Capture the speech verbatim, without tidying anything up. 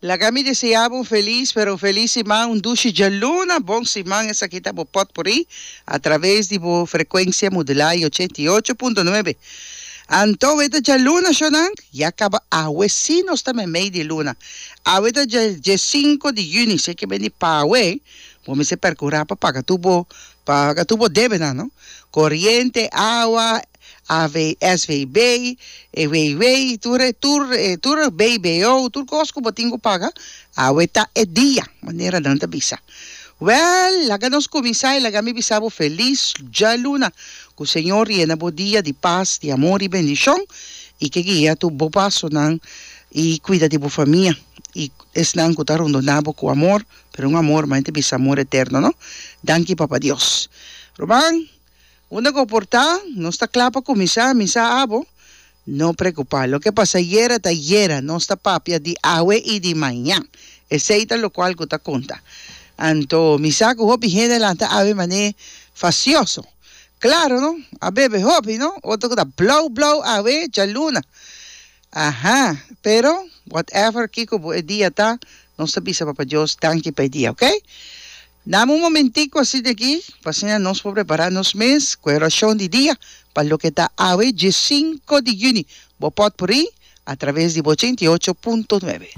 Laga mi deseá bo un felis, pero un felis siman, un dushi djaluna, bon siman. Esaki ta bo Potpourri a traves di bo frekuensia modulá i ochenta i ocho punto nuebe. Anto e ta djaluna, shonnan, ya kaba awe sí nos ta meimei di luna. Awe ta dje diesinku di yüni, si ke bini pa awe, bo mester perkurá pa paga tur bo paga tur bo debenan, no? Koriente, awa, A V, S V B, e W W, tur e tur e tur e B B O, tur kos ku bo tin ku paga, awe ta e dia, manera nan ta bisa. Wèl, laga nos kuminsá i laga mi bisa bo felis djaluna, ku Señor yena bo dia di pas, di amor i bendishon, i ke guia tur bo pasonan i kuida di bo famia i esnan ku ta rondoná bo ku amor, pero un amor, ma ta bisa amor eterno, no? Danki Papa Dios. Ruman, unda ku por ta, nos ta kla pa kuminsá, misa abo. No preokupá, loke pasa ayera ta ayera, nos ta papia di awe i di mañan. Esei ta lokual ku ta konta. Anto, mi sa ku hopi hende lanta awe mané fasioso. Klaro, no? A bebe hopi, no? Otro ku ta blou blou awe djaluna. Aha, pero whatever kiko bo e dia ta, nos ta bisa Papa Dios danki pa e dia, ok? Dame un momentico asina di aki, pa asina nos por prepará nos mes ku e orashon di dia pa loke ta awe diesinku di yüni. Bo Potpourri a traves di ochenta i ocho punto nuebe.